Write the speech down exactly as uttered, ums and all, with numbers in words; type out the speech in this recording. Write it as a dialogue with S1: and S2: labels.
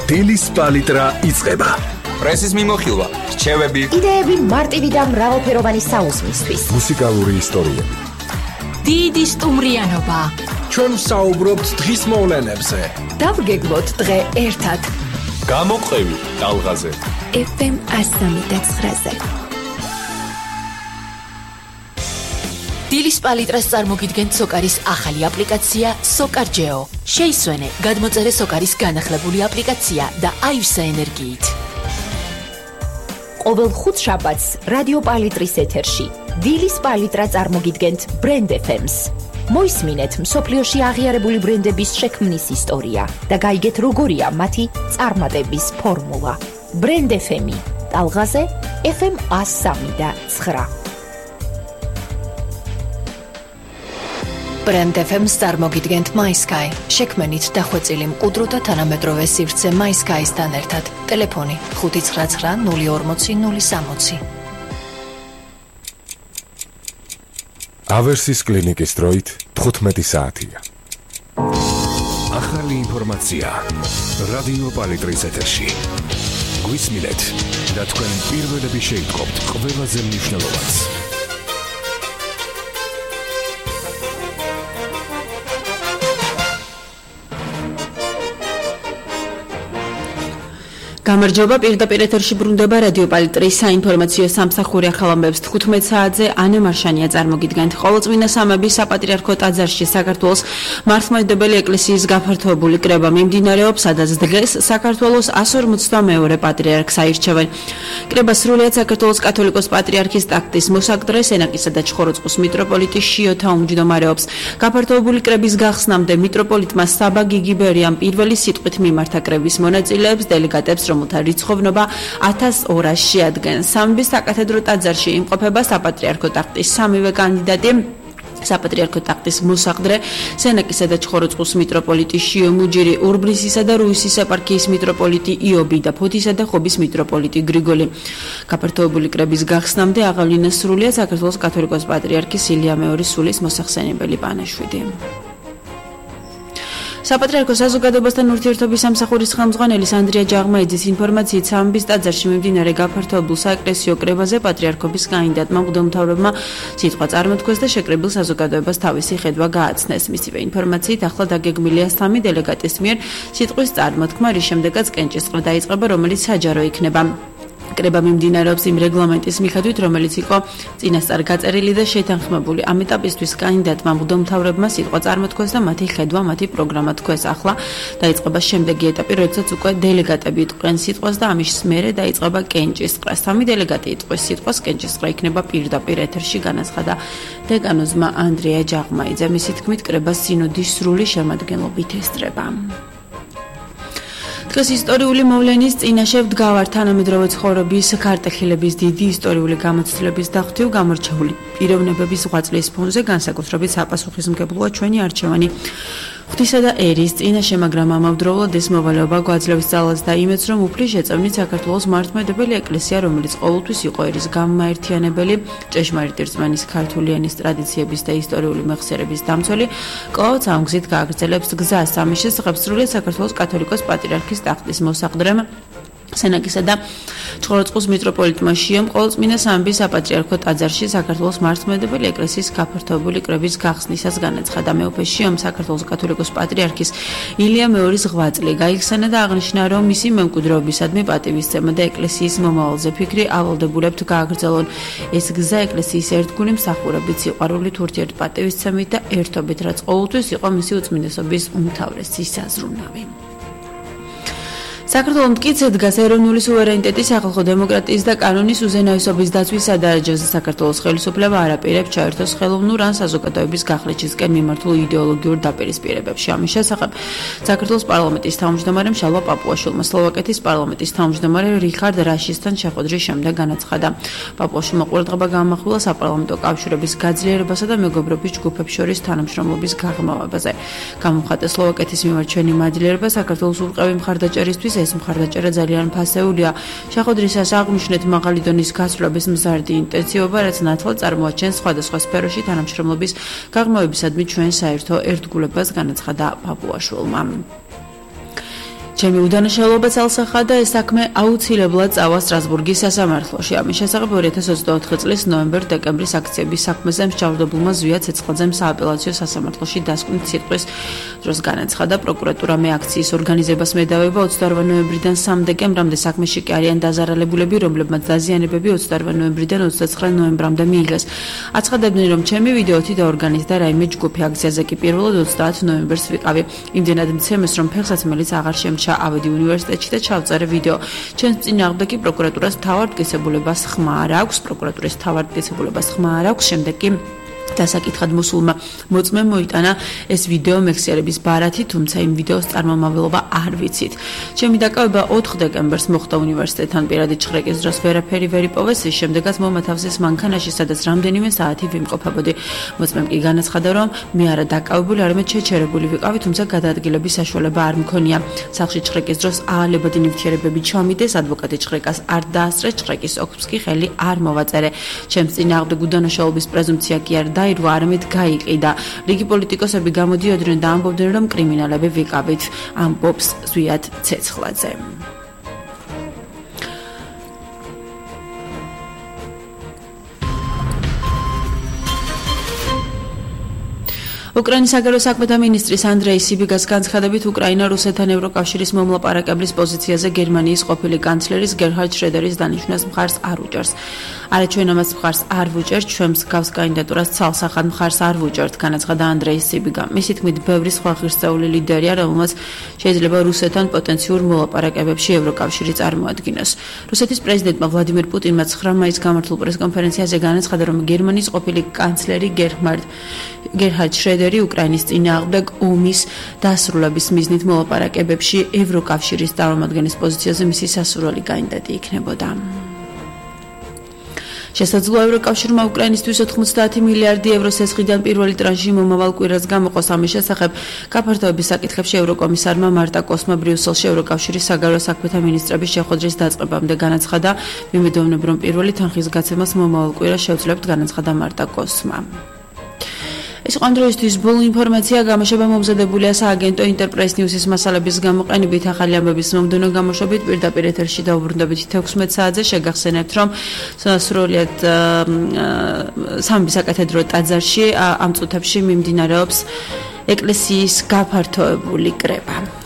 S1: დილის პალიტრა იწყება.
S2: პრესის მიმოხილვა, რჩევები,
S3: იდეები მარტივი და მრავალფეროვანი საუზმისთვის.
S1: მუსიკალური ისტორიები.
S4: დიდი სტუმრიანობა.
S1: ჩვენ ვსაუბრობთ დღის მოვლენებზე.
S3: დავგეგმოთ დღე ერთად.
S1: გამოყევი ტალღაზე.
S3: ეფ ემ ასამი და ცხრაზე.
S4: დილის პალიტრას წარმოგიდგენთ სოკარის ახალი აპლიკაცია სოკარჯეო. შეისვენე, გადმოწერე სოკარის განახლებული აპლიკაცია და აივსე ენერგიით.
S3: ყოველ ხუთშაბათს რადიო პალიტრის ეთერში დილის პალიტრა წარმოგიდგენთ ბრენდ ეფ ემს. მოისმინეთ მსოფლიოში აღიარებული ბრენდების შექმნის ისტორია და გაიგეთ როგორია მათი წარმატების ფორმულა. ბრენდ ეფ ემი ტალღაზე ეფ ემ ასამი და ცხრა.
S4: ბრენდ ეფ ემს წარმოგიდგენთ MySky. შექმნით დახვეწილი მყუდრო და თანამედროვე სივრცე MySky-სთან ერთად. ტელეფონი ხუთი ცხრა ცხრა ნული ორმოცი ნული სამოცი.
S1: ავერსის კლინიკის დროით თხუთმეტი საათია. ახალი ინფორმაცია რადიო პალიტრის ეთერში. გვისმინეთ და თქვენ პირველები შეიტყობთ ყველაზე მნიშვნელოვანს.
S5: გამარჯობა, პირდაპირ ეთერში ბრუნდება რადიო პალიტრის საინფორმაციო სამსახური ახალ ამბებს თხუთმეტ საათზე. ანე მარშანია წარმოგიდგენთ. ყოველწმინდა სამების საპატრიარქო ტაძარში საქართველოს მართლმადიდებელი ეკლესიის გაფართოებული კრება მიმდინარეობს, სადაც დღეს საქართველოს εκατს ორმოცდამეორე პატრიარქს აირჩევენ. კრება სრულიად საქართველოს კათოლიკოს პატრიარქის ტახტის მოსაგდრე სენაკისა და ჩხოროწყუს მიტროპოლიტი შიოთა უმჯდომარეობს. გაფართოებული კრების გახსნამდე მიტროპოლიტმა საბა გიგიბერიამ პირველი სიტყვით მიმართა კრების მონაწილეებს, დელეგატებს, რომელთა რიცხოვნობა ათას ორას შეადგენს. სამების საკათედრო ტაძარში იმყოფება საპატრიარქო ტახტის სამივე კანდიდატი. საპატრიარქო ტახტის მოსაგდრე სენაკისა და ჩხოროწყუს მიტროპოლიტი შიო მუჯირი, ურბნისისა და რუისის ეპარქიის მიტროპოლიტი იობი და ფოთისა და ხობის მიტროპოლიტი გრიგოლი. გაფართოებული კრების გახსნამდე აღავლინა სრულიად საქართველოს კათოლიკოს პატრიარქის ილია მეორის სულის მოსახსენებელი პანაშვიდი. საპატრიარქოს საზოგადოებასთან ურთიერთობის სამსახურის ხელმძღვანელის ანდრია ჯაღმაიძის ინფორმაციით სამების ტაძარში მიმდინარე გაფართოებულ საეკლესიო კრებაზე პატრიარქობის კანდიდატმა მღვდელმთავრებმა სიტყვა წარმოთქვეს და შეკრებილ საზოგადოებას თავისი ხედვა გააცნეს. მისივე ინფორმაციით ახლა დაგეგმილია სამი დელეგატის მიერ სიტყვის წარმოთქმა, რის შემდეგაც კენჭისყრა დაიწყება, რომელიც საჯარო იქნება. კრება მიმდინარეობს იმ რეგლამენტის მიხედვით, რომელიც იყო წინასწარ გაწერილი და შეთანხმებული. ამ ეტაპისთვის კანდიდატმა მღვდელმთავრებმა სიტყვა წარმოთქვეს და მათი ხედვა, მათი პროგრამა თქვეს. ახლა დაიწყება შემდეგი ეტაპი, როდესაც უკვე დელეგატები იტყვიან სიტყვას და ამის მერე დაიწყება კენჭისყრა. სამი დელეგატი იტყვის სიტყვას, კენჭისყრა იქნება პირდაპირ ეთერში, განაცხადა დეკანოზმა ანდრია ჯაღმაიძე. მისი თქმით, კრება სინოდის სრული შემადგენლობით ესწრება. დღეს ისტორიული მოვლენის წინაშე ვდგავართ თანამედროვე ცხოვრების ქარტეხილების დიდი ისტორიული გამოცდილების დახვთივ გამორჩეული პიროვნებების ღვაწლის ფონზე, განსაკუთრებით საპასუხისმგებლოა ჩვენი არჩევანი ღვთისა და ერის წინაშე, მაგრამ ამავდროულად ეს მოვალეობა გვაძლევს ძალას და იმედს, რომ უფლის შეწევნით საქართველოს მართლმადიდებელი ეკლესია, რომელიც ყოველთვის იყო ერის გამაერთიანებელი, ჭეშმარიტი რწმენის ქართული ენის ტრადიციების და ისტორიული მეხსიერების დამცველი, კვლავ ამ გზით გააგრძელებს გზას. ამის შესახებ სრულიად საქართველოს კათოლიკოს პატრიარქის ტახტის მოსაგდრემ სენაკისა და ჩხოროწყუს მიტროპოლიტმა შიომ ყოველწმინდა სამების საპატრიარქო ტაძარში საქართველოს მართლმადიდებელი ეკლესიის გაფართოებული კრების გახსნისას განაცხადა. მეუფე შიომ საქართველოს კათოლიკოს პატრიარქის ილია მეორის ღვაწლი გაიხსენა და აღნიშნა, რომ მისი მემკვიდრეობისადმი პატივისცემა და ეკლესიის მომავალზე ფიქრი ავალდებულებთ გააგრძელონ. ეს გზა ეკლესიის ერთგული მსახურებით, სიყვარულით, ურთიერთპატივისცემით და ერთობით, რაც ყოველთვის იყო მისი უწმინდესობის უმთავრესი საზრუნავი. საქართველოს მტკიცედ დგას ეროვნული სუვერენიტეტის, სახალხო დემოკრატიის და კანონის უზენაესობის დაცვის სადარაჯოზე. საქართველოს ხელისუფლება არ აპირებს ჩაერთოს ხელოვნურ ან საზოგადოების გახლეჩისკენ მიმართულ იდეოლოგიურ დაპირისპირებებში. ამის შესახებ საქართველოს პარლამენტის თავმჯდომარემ შალვა პაპუაშვილმა სლოვაკეთის პარლამენტის თავმჯდომარე რიხარდ რაშისთან შეხვედრის შემდეგ განაცხადა. პაპუაშვილმა ყურადღება გაამახვილა საპარლამენტო კავშირების გაძლიერებასა და მეგობრობის ჯგუფებს შორის თანამშრომლობის გაღრმავებაზე. გამომხატა სლოვაკეთის მიმართ ჩვენი მადლიერება საქართველოს ურყევი მხარდაჭერისთვის. ეს მხარდაჭერა ძალიან ფასეულია. შეხვედრისას აღნიშნეთ მაღალი დონის გასვლების მზარდი ინტენსივობა, რაც ნათლად წარმოაჩენს სხვადასხვა სფეროში თანამშრომლობის გაღრმავებისადმი ჩვენ საერთო ერთგულებას, განაცხადა პაპუაშვილმა. ჩემი უდანაშაულობა წელსახა და ეს საქმე აუცილებლად წავა სტრასბურგის სასამართლოში. ამის შესახებ ორი ათას ოცდაოთხი წლის ნოემბერ-დეკემბრის აქციების საქმეზე მსჯავრდებულმა ზვია ცეცხლაძემ სააპელაციო სასამართლოში დასკვნით სიტყვის დროს განაცხადა, პროკურატურამ აქციის ორგანიზებას მედავება ოცდაორი ნოემბრიდან სამი დეკემბრამდე საქმეში კი არიან დაზარალებულები, რომლებმაც დაზიანებები ოცდაორი ნოემბრიდან ოცდაცხრა ნოემბრამდე მიიღეს. აცხადებდნენ, რომ ჩემი ვიდეოთი დაორგანიზდა რაიმე ჯგუფი, აქციაზე კი პირველად ოცდაათ ნოემბერს ვიყავი. იმდენად მცემეს, რომ ფეხსაცმელიც აღარ შემჩა ავედი უნივერსიტეტში და ჩავწერე ვიდეო. ჩვენს წინააღმდეგ კი პროკურატურას თავარდკისებულებას ხმა არ აქვს, პროკურატურის თავარდკისებულებას ხმა არ აქვს, შემდეგ კი დასაკითხად მოსულმა მოწმემ მოიტანა ეს ვიდეო მეხსიერების ბარათი, თუმცა იმ ვიდეოს წარმომავლობა არ ვიცით. ჩემი დაკავება ოთხ დეკემბერს მოხდა უნივერსიტეტთან პირადი ჩხრეკის დროს ვერაფერი ვერ იპოვეს, ის შემდეგაც მომათავსეს მანქანაში, სადაც რამდენიმე საათი ვიმყოფებოდი. მოწმემ კი განაცხადა, რომ მე არა დაკავებული, არამედ შეჩერებული ვიყავი, თუმცა გადაადგილების საშუალება არ მქონია. სახლში ჩხრეკის დროს აალებადი ნივთიერებები ჩამიდეს, ადვოკატი ჩხრეკას არ დაასწრეს, ჩხრეკის ოქროს კი ხელი არ მოვაწერე. ჩემს წინააღმდეგ უდანაშაულობის პრეზუმპცია კი არ დაირღვა, არამედ გაიყიდა. რიგი პოლიტიკოსები გამოდიოდნენ და ამბობდნენ, რომ კრიმინალები ვიყავით, ამბობს ზვიად ცეცხლაძე. უკრაინის საგარეო საქმეთა მინისტრის ანდრეი სიბიგას განცხადებით, უკრაინა რუსეთთან ევროკავშირის მომლაპარაკებლის პოზიციაზე გერმანიის ყოფილი კანცლერის გერჰარდ შრედერის დანიშვნას მხარს არ უჭერს. არა, ჩვენ ამას მხარს არ ვუჭერთ, ჩვენ მსგავს კანდიდატურას ცალსახად მხარს არ ვუჭერთ, განაცხადა ანდრეი სიბიგა. მისი თქმით, ბევრი სხვა ღირსეული ლიდერია, რომელმაც შეიძლება რუსეთთან პოტენციურ მოლაპარაკებებში ევროკავშირი წარმოადგინოს. რუსეთის პრეზიდენტმა ვლადიმერ პუტინმა ცხრა მაისს გამართულ პრესკონფერენციაზე განაცხადა, რომ გერმანიის ყოფილი კანცლერი გერჰარდ გერჰარდ შრედერი უკრაინის წინააღმდეგ ომის დასრულების მიზნით მოლაპარაკებებში ევროკავშირის წარმომადგენლის პოზიციაზე მისი სასურველი კანდიდატი იქნებოდა. შესაძლოა ევროკავშირმა უკრაინისთვის ოთხმოცდაათი მილიარდი ევროს სესხიდან პირველი ტრანში მომავალ კვირას გამოყოს. ამის შესახებ გაფართოების საკითხებში ევროკომისარმა მარტა კოსმა ბრიუსელში ევროკავშირის საგარეო საქმეთა მინისტრების შეხვედრის დაწყებამდე განაცხადა, მიმედოვნებ, რომ პირველი თანხის გაცემას მომავალ კვირას შევძლებთ, განაცხადა მარტა კოსმა. ეს ყოველდღიურობის ბოლო ინფორმაცია გამოშვება მომზადებულია სააგენტო ინტერპრეს ნიუსის მასალების გამოყენებით. ახალი ამბების მომდევნო გამოშვებით პირდაპირ ეთერში დაუბრუნდებით თექვსმეტ საათზე. შეგახსენებთ, რომ სრულად სამი საკათედრო ტაძარში ამ წუთებში მიმდინარეობს ეკლესიის გაფართოებული კრება.